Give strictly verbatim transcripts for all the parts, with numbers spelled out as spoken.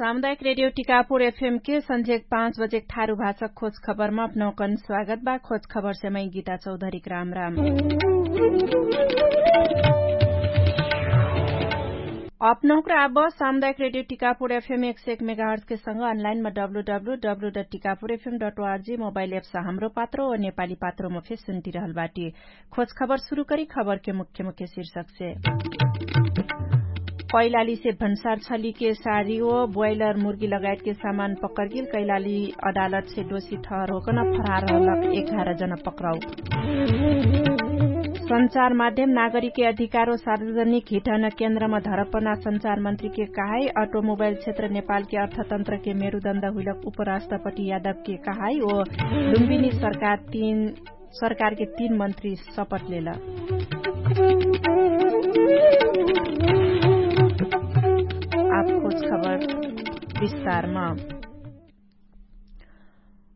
सामुदायिक रेडियो टिकापुर एफएम के सन्झेक पाँच बजेक ठारु भाषक खोज खबरमा अपनौकन स्वागत बा। खोज खबरसे मै गीता चौधरीक राम राम। अपनौकरा आब सामुदायिक रेडियो टिकापुर एफएम एक सय एक मेगाहर्जके सँग अनलाइनमा W W W dot Tikapur F M dot O R G mobile apps Hamro Patro ओ नेपाली पात्रोमा फेर सुन्टिरहल बाटी। खोज खबर सुरु करी खबरके मुख्य मुख्य शीर्षकसे। कैलालीसे भन्सार छलीके सारी ओ ब्वाइलर मुर्गी लगायतके सामान पकरगिल। कैलाली अदालतसे दोषी ठहर होकन फरार रहलक एघार जना पक्राउ। सञ्चार माध्यम नागरिकके अधिकारो सार्वजनिक हिटन केन्द्रमा धरपना सञ्चार मन्त्रीके कहाई। अटोमोबाइल क्षेत्र नेपालके अर्थतन्त्रके मेरुदण्ड हुइलक उपराष्ट्रपति यादवके कहाई ओ लुम्बिनी सरकार तीन सरकारके तीन मन्त्री सपट लेल। आब खोज खबर विस्तारमा।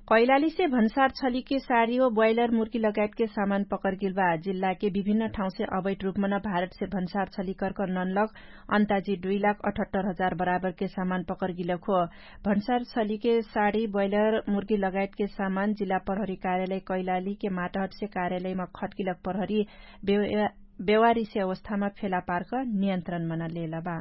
कैलालीसे भन्सार छलीके सारी ओ ब्वाइलर मुर्गी लगायतके सामान पकरगिल बा। जिल्लाके विभिन्न ठाउँसे अवैध रूपमन भारतसे भन्सार छली कर्क ननलक अन्ताजी दुई लाख अठहत्तर हजार बराबरके सामान पकरगिलक हो। भन्सार छलीके साडी ब्वाइलर मुर्गी लगायतके सामान जिल्ला प्रहरी कार्यालय कैलालीके माटहटसे कार्यालयमा खटकिलक प्रहरी बेवारिसे अवस्थामा फेला पार्क नियन्त्रणमन लेलबा।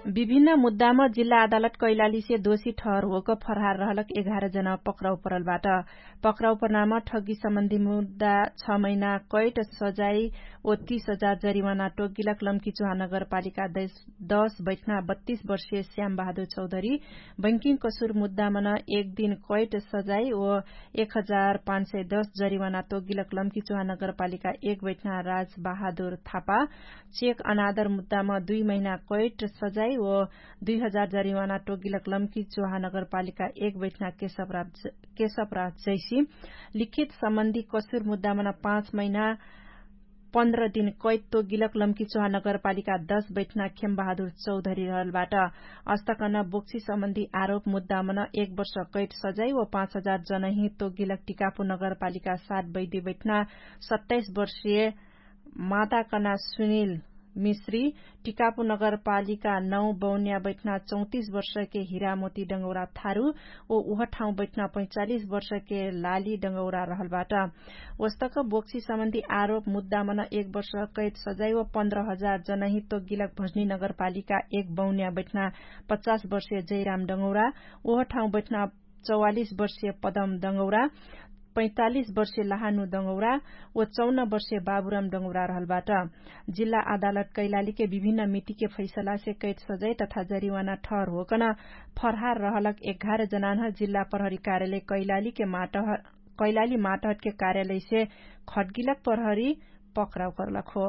विभिन्न मुद्दामा जिल्ला अदालत कैलालीसे दोषी ठहर होक फरहार रहलक एघार जना पक्राउ परलबाट। पक्राउ परनाम ठग्गी सम्बन्धी मुद्दा छ महिना कैट सजाई ओ तीस हजार जरिवाना टोगिलक लम्की चुहा नगरपालिका दश बैठना बत्तीस वर्षीय श्याम बहादुर चौधरी बैंकिङ कसुर मुद्दामन एक दिन कैट सजाई ओ एक हजार पाँच सय दश जरिवाना तोगिलक लम्की चुहा नगरपालिका एक बैठना राज बहादुर थापा चेक अनादर मुद्दाम दुई महिना कैट सजाई ओ दुई हजार जरिवाना तोगिलक लम्की चुहा नगरपालिका एक बैठना केशवराज जैसी लिखित सम्बन्धी कसुर मुद्दामन पाँच महिना पन्ध्र दिन कैद तोगिलक लम्की चुहा नगरपालिका दश बैठना खेम बहादुर चौधरी रहलबाट। अस्तकन बोक्सी सम्बन्धी आरोप मुद्दामन एक वर्ष कैद सजाई ओ पाँच हजार जनही तोगिलक टिकापु नगरपालिका सात बैदी बैठना सत्ताइस वर्षीय माताकना सुनिल मिश्री टिकापु नगरपालिका नौ बौन्या बैठना चौतिस वर्षके हिरामोती डंगौरा थारु ओ उह ठाउँ बैठना पैचालिस वर्षके लाली डंगौरा रहलबाट। ओस्तक बोक्सी सम्बन्धी आरोप मुद्दामन एक वर्ष कैद सजाई ओ पन्ध्र हजार जनही तोगिलक भजनी नगरपालिका एक बौन्या बैठना पचास वर्षीय जैराम डंगौरा ओह ठाउँ बैठना चौवालिस वर्षीय पदम डंगौरा पैतालिस वर्षीय लहानु डंगौरा ओ चौन वर्षीय बाबुराम डंगौरा रहलबाट। जिल्ला अदालत कैलालीके विभिन्न मितिके फैसलासे कैद सजाई तथा जरिवाना ठहर होकन फरहार रहलक एघार जनानह जिल्ला प्रहरी कार्यालय कैलालीके माटहट कैलाली माटहटके कार्यालयसे खटगिलक प्रहरी पक्राउ करलक हो।